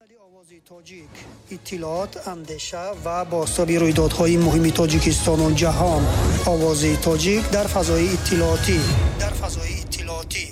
Овози Тоҷик: иттилоот, андеша ва бозтоби рӯйдодҳои муҳими Тоҷикистону ҷаҳон. Овози Тоҷик дар фазои иттилоотӣ, дар фазои иттилоотӣ.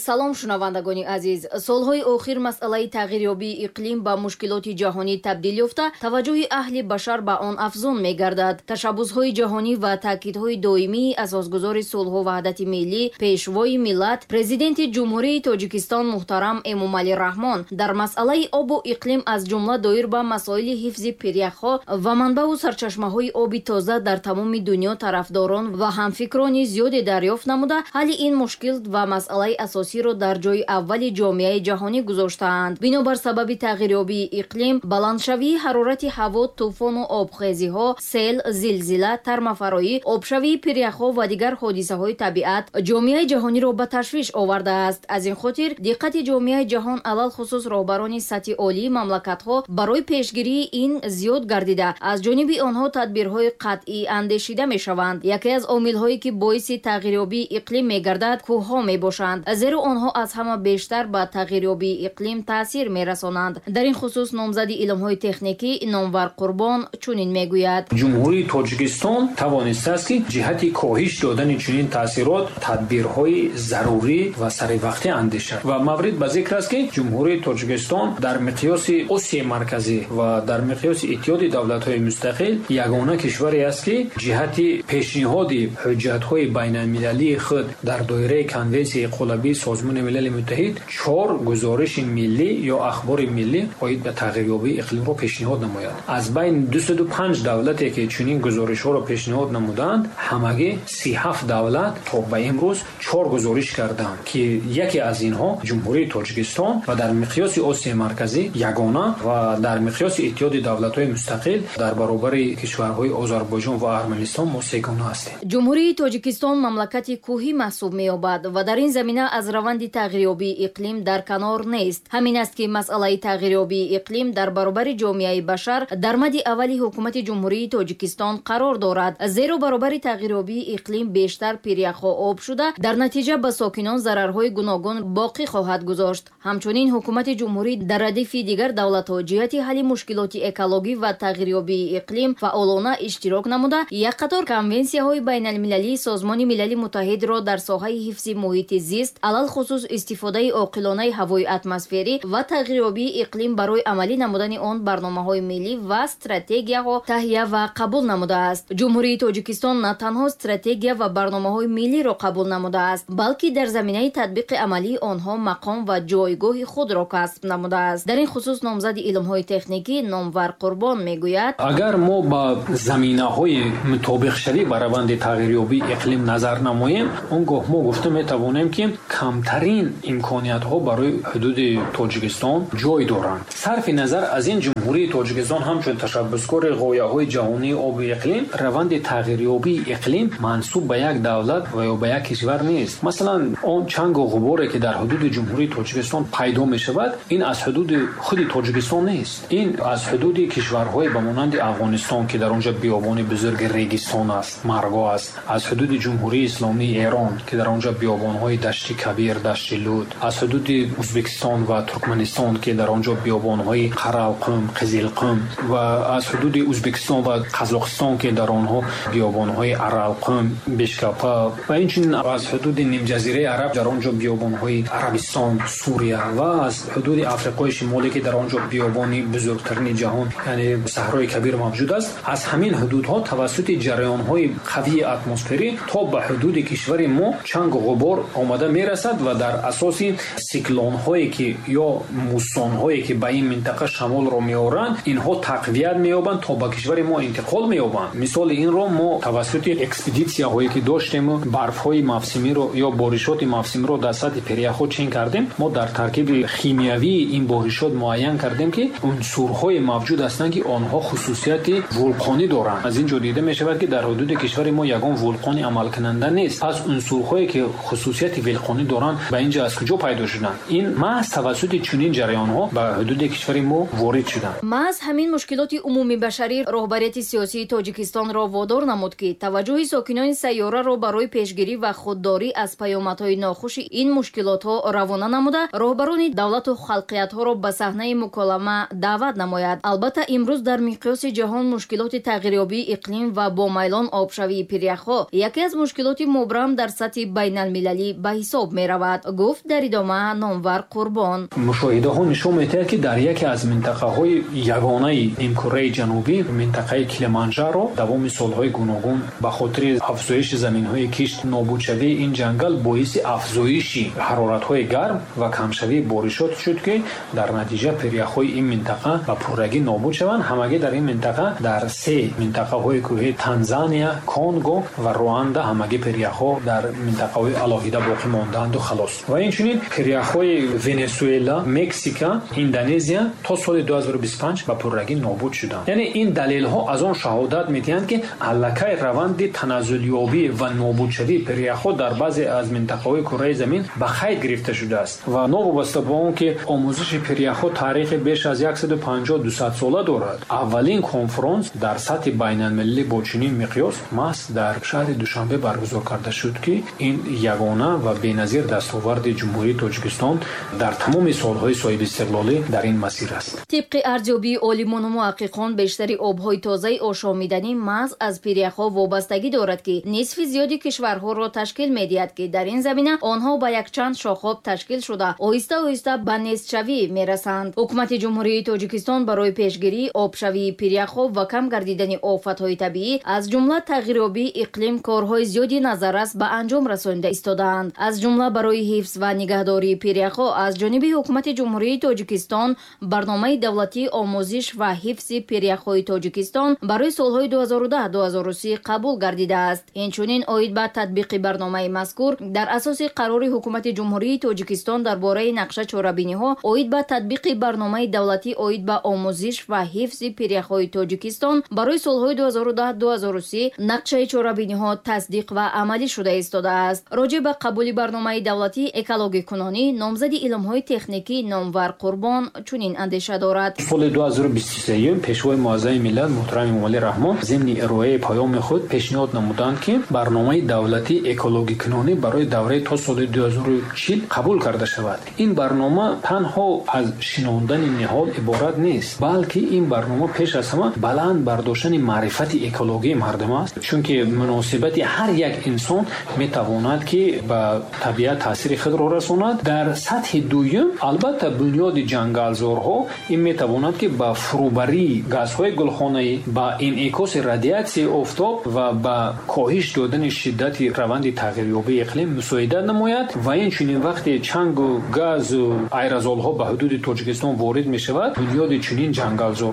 Салом, шунавандагони азиз. Солҳои охир масъалаи тағйирёбии иқлим ба мушкилоти ҷаҳонӣ табдил ёфта, таваҷҷӯҳи аҳли башар ба он афзун мегардад. Ташаббусҳои ҷаҳонӣ ва таъкидҳои доимии асосгузори сулҳу ваҳдати миллӣ, Пешвои миллат, Президенти Ҷумҳурии Тоҷикистон муҳтарам Эмомалӣ Раҳмон дар масъалаи обу иқлим, аз ҷумла доир ба масоили ҳифзи пиряхҳо ва манбаъу сарчашмаҳои оби тоза, дар тамоми дунё тарафдорон ва ҳамфикрони зиёде дарёфт намуда, ҳалли ин мушкил ва масъалаи асосиро дар ҷои аввали ҷомеаи ҷаҳонӣ гузоштаанд. Бинобар сабаби тағйирёбии иқлим, баландшавии ҳарорати ҳаво, тӯфону обхезиҳо, сел, зилзила, тармафароӣ, обшавии пиряхҳо ва дигар ҳодисаҳои табиат ҷомеаи ҷаҳониро ба ташвиш овардааст. Аз ин хотир диққати ҷомеаи ҷаҳон, алалхусус роҳбарони сатҳи олии мамлакатҳо, барои пешгирии ин зиёд гардида, аз ҷониби онҳо тадбирҳои қатъӣ андешида мешаванд. Яке аз омилҳое, ки боиси тағйирёбии иқлим мегардад, кӯҳҳо мебошанд, зеро онҳо аз ҳама бештар ба тағйирёбии иқлим таъсир мерасонанд. Дар ин хусус номзади илмҳои техникӣ Номвар Қурбон чунин мегӯяд: Ҷумҳурии Тоҷикистон тавонистааст, ки ҷиҳати коҳиш додани чунин таъсирот тадбирҳои зарурӣ ва саривақтӣ андешад. Ва маврид ба зикр аст, ки Ҷумҳурии Тоҷикистон дар миқёси Осиёи Марказӣ ва дар миқёси Иттиҳоди Давлатҳои Мустақил ягона кишваре аст, ки ҷиҳати пешниҳоди ҳуҷҷатҳои байналмилалии худ дар доираи Конвенсияи қолабии Созмони Милали Муттаҳид чор гузориши миллӣ ё ахбори миллӣ оид ба тағйирёбии иқлимро пешниҳод намояд. Аз байни 205 давлате, ки чунин гузоришҳоро пешниҳод намуданд, ҳамагӣ 37 давлат то ба имрӯз чор гузориш карданд, ки яке аз инҳо Ҷумҳурии Тоҷикистон ва дар миқёси Осиёи Марказӣ ягона ва дар миқёси Иттиҳоди Давлатҳои Мустақил дар баробари кишварҳои Озарбойҷон ва Арманистон мо сегона ҳастем. Ҷумҳурии Тоҷикистон мамлакати кӯҳӣ маҳсуб меёбад ва дар ин замина аз раванди тағйирёбии иқлим дар канор нест. Ҳамин аст, ки масъалаи тағйирёбии иқлим дар баробари ҷомеаи башар дар мади аввали ҳукумати Ҷумҳурии Тоҷикистон қарор дорад, зеро баробари тағйирёбии иқлим бештар пиряхҳо об шуда, дар натиҷа ба сокинон зарарҳои гуногун боқӣ хоҳад гузошт. Ҳамчунин ҳукумати ҷумҳурӣ дар радифи дигар давлатҳо ҷиҳати ҳалли мушкилоти экологӣ ва тағйирёбии иқлим фаъолона иштирок намуда, як қатор конвенсияҳои байналмилалии Созмони Милали Муттаҳидро дар соҳаи ҳифзи муҳити зист, алалхусус истифодаи оқилонаи ҳавои атмосферӣ ва тағйирёбии иқлим, барои амалӣ намудани он барномаҳои миллӣ ва стратегияҳо таҳия ва қабул намудааст. Ҷумҳурии Тоҷикистон на танҳо стратегия ва барномаҳои миллиро қабул намудааст, балки дар заминаи татбиқи амалии онҳо мақом ва ҷойгоҳи худро касб намудааст. Дар ин хусус номзади илмҳои техникӣ Номвар Қурбон мегӯяд: Агар мо ба заминаҳои мутобиқшавӣ ба раванди тағйирёбии иқлим назар намоем, он гоҳ мо гуфта метавонем, ки камтарин имкониятҳо барои ҳудуди Тоҷикистон ҷой доранд. Сарфи назар аз ин, Ҷумҳурии Тоҷикистон ҳамчун ташаббускори ғояҳои ҷаҳонии обу иқлим, раванди тағйирёбии иқлим мансуб ба як давлат ва ё ба як кишвар нест. Масалан, он чангу ғуборе, ки дар ҳудуди Ҷумҳурии Тоҷикистон пайдо мешавад, ин аз ҳудуди худи Тоҷикистон нест, ин аз ҳудуди кишварҳое ба монанди Афғонистон, ки дар он ҷо биёбони бузурги Регистон аст, Марго аст, аз ҳудуди Ҷумҳурии Исломии Эрон, ки дар он ҷо биёбонҳои Дашти Кабир, Дашти Лут, аз ҳудуди Ӯзбекистон ва Туркманистон, ки дар он ҷо биёбонҳои Қаралқум, Қизилқум, ва аз ҳудуди Ӯзбекистон ва Қазоқистон, ки дар онҳо биёбонҳои Аралқум, Бешкапа, ва инчунин аз ҳудуди Нимҷазираи Араб, дар он ҷо биёбонҳои Арабистон, Сурия, ва аз ҳудуди Африқои Шимолӣ, ки дар он ҷо биёбони бузургтарини ҷаҳон, яъне Саҳрои Кабир мавҷуд аст. Аз ҳамин ҳудудҳо тавассути ҷараёнҳои қавии атмосферӣ то ба ҳудуди кишвари мо чангу ғубор омада мерасад ва дар асоси сиклонҳое, ки ё муссонҳое, ки ба ин минтақа шамолро меоранд, инҳо тақвият меёбанд, то ба кишвари мо интиқол меёбанд. Мисоли инро мо тавассути экспедитсияҳое, ки доштему барфҳои мавсимиро ё боришоти мавсимиро дар сатҳи пиряхҳо чен кардем, мо дар таркиби химиявии ин боришот муайян кардем, ки унсурҳое мавҷуд ҳастанд, ки онҳо хусусияти вулқонӣ доранд. Аз ин ҷо дида мешавад, ки дар ҳудуди кишвари мо ягон вулқони амалкунанда нест. Пас унсурҳое, ки хусусияти вулқонӣ доранд. доранд, ба инҷа аз куҷо пайдо шуданд? Ин маҳз тавассути чунин ҷараёнҳо ба ҳудуди кишвари мо ворид шуданд. Маҳз ҳамин мушкилоти умумибашарӣ роҳбарияти сиёсии Тоҷикистонро водор намуд, ки таваҷҷӯҳи сокинони сайёраро барои пешгирӣ ва худдорӣ аз паёмадҳои нохуши ин мушкилотҳо равона намуда, роҳбарони давлату халқиятҳоро ба саҳнаи муколама даъват намояд. Албатта, имрӯз дар миқёси ҷаҳон мушкилоти тағйирёбии иқлим ва бомайлон обшавии пиряхҳо яке аз мушкилоти мубрам дар сатҳи байналмилалӣ ба ҳисоб меравад, гуфт дар идома Номвар Қурбон. Мушоҳидаҳо нишон медиҳад, ки дар яке аз минтақаҳои ягонаи нимкураи ҷанубӣ, минтақаи Килиманҷаро, давоми солҳои гуногун ба хотири афзоиши заминҳои кишт, нобудшавии ин ҷангал боиси афзоиши ҳароратҳои гарм ва камшавии боришот шуд, ки дар натиҷа пиряхҳои ин минтақа ба пуррагӣ нобуд шаванд. Ҳамагӣ дар ин минтақа, дар се минтақаҳои кӯҳии Танзания, Конго ва Руанда ҳамагӣ пиряхҳо дар минтақаҳои алоҳида боқӣ мондаанду халос. Ва инчунин пиряхҳои Венесуэла, Мексика, Индонезия то соли 2025 ба пуррагӣ нобуд шуданд. Яъне ин далелҳо аз он шаҳодат медиҳанд, ки аллакай раванди таназзулёбӣ ва нобудшавии пиряхҳо дар баъзе аз минтақаҳои кураи замин ба қайд гирифта шудааст. Ва новобаста ба он ки омӯзиши пиряхҳо таърихи беш аз 150-200 сола дорад, аввалин конфронс дар сатҳи байналмилалӣ бо чунин миқёс маҳз дар шаҳри Душанбе баргузор карда шуд, ки ин ягона ва беназир дастоварди Ҷумҳурии Тоҷикистон дар тамоми солҳои соҳибистиқлолӣ дар ин масир аст. Тибқи арзёбии олимону муҳаққиқон, бештари обҳои тозаи ошомиданӣ маҳз аз пиряхҳо вобастагӣ дорад, ки нисфи зиёди кишварҳоро ташкил медиҳад, ки дар ин замина онҳо ба якчанд шохоб ташкил шуда, оҳиста оҳиста ба нестшавӣ мерасанд. Ҳукумати Ҷумҳурии Тоҷикистон барои пешгирии обшавии пиряхҳо ва кам гардидани офатҳои табиӣ, аз ҷумла тағйирёбии иқлим, корҳои зиёди назаррас ба анҷом расонида истодаанд. Аз ҷумла барои ҳифз ва нигаҳдории пиряхҳо аз ҷониби Ҳукумати Ҷумҳурии Тоҷикистон барномаи давлатии омӯзиш ва ҳифзи пиряхҳои Тоҷикистон барои солҳои 2010-2030 қабул гардидааст. Инчунин оид ба татбиқи барномаи мазкур дар асоси қарори Ҳукумати Ҷумҳурии Тоҷикистон дар бораи нақша чорабиниҳо оид ба татбиқи барномаи давлатӣ оид ба омӯзиш ва ҳифзи пиряхҳои Тоҷикистон барои солҳои 2010-2030 нақшаи чорабиниҳо тасдиқ ва амалӣ шуда истодааст. Роҷеъ ба қабули барномаи давлатии экологикунонӣ номзади илмҳои техникӣ Номвар Қурбон чунин андеша дорад. Соли 2023 Пешвои муаззами миллат муҳтарам Эмомалӣ Раҳмон зимни ироаи паёми худ пешниҳод намуданд, ки барномаи давлатии экологикунонӣ барои давраи то соли 2040 қабул карда шавад. Ин барнома танҳо аз шинондани ниҳол иборат нест, балки ин барнома пеш аз ҳама баланд бардоштани маърифати экологии мардум аст, чунки муносибати ҳар як инсон метавонад, ки ба табиат таъсири худро расонад. Дар сатҳи дуюм, албатта, бунёди ҷангалзорҳо ин метавонад, ки ба фурӯбарии газҳои гулхонаӣ, ба инъикоси радиатсияи офтоб ва ба коҳиш додани шиддати раванди тағйирёбии иқлим мусоидат намояд. Ва инчунин вақте чангу газу аэрозолҳо ба ҳудуди Тоҷикистон ворид мешавад, бунёди чунин ҷангалзорҳо